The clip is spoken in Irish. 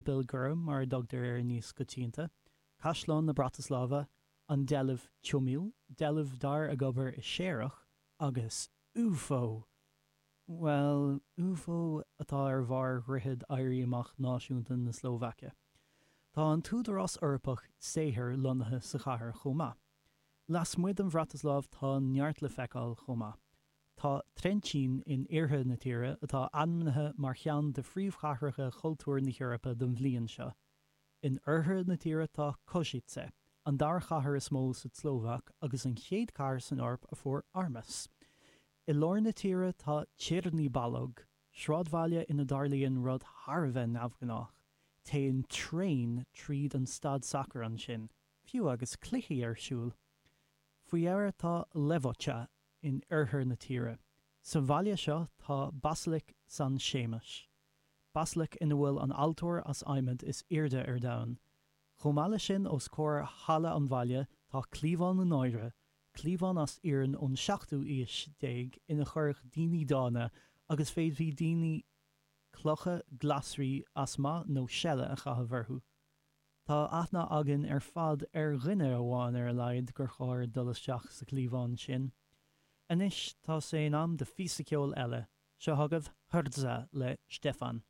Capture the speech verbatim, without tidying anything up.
Séipéal Gorm mar a dtugtar air níos coitianta, Caisleán na Brataslava, an deilbh Čumil, deilbh d'fhear ag obair i séarach, agus UFO! Bhuel, UFO atá ar bharr dhroichead Éirí Amach Náisiúnta na Slóvaice. Tá an tÚdarás Eorpach Saothair lonnaithe sa chathair chomh maith. Lasmuigh den Bhratasláiv tá neart le feiceáil chomh maith. Tá Trenčín in iarthar na tíre, atá ainmnithe mar cheann de phríomhchathracha cultúir na hEorpa don bhliain seo. In oirthear na tíre tá Košice, an dara cathair is mó sa tSlóvaic agus an chéad chathair san Eoraip a fuair armas. I lár na tíre tá Čierny Balog, sráidbhaile ina dtarlaíonn rud thar a bheith neamhghnách, téann traein tríd an staid sacair ansin, fiú agus cluichí ar siúl. Faoi dheireadh tá Levoča in oirthear na tíre. Sa bhaile seo tá Basalaic San Séamas. Basalaic ina bhfuil an altóir as adhmad is airde ar domhan. Chomh maith leis sin os comhair halla an bhaile tá Cliabhán na Náire, cliabhán as iarann ón seachtú haois déag ina chuireadh daoine dána agus féadfaidh daoine clocha, glasraí as maith nó seile a chaitheamh orthu. Tá aithne againn ar fad ar dhuine amháin ar a laghad gur chóir dul isteach sa chliabhán sin. Anois tá sé in am do phíosa ceoil eile, seo chugaibh Hrdza le Štefan.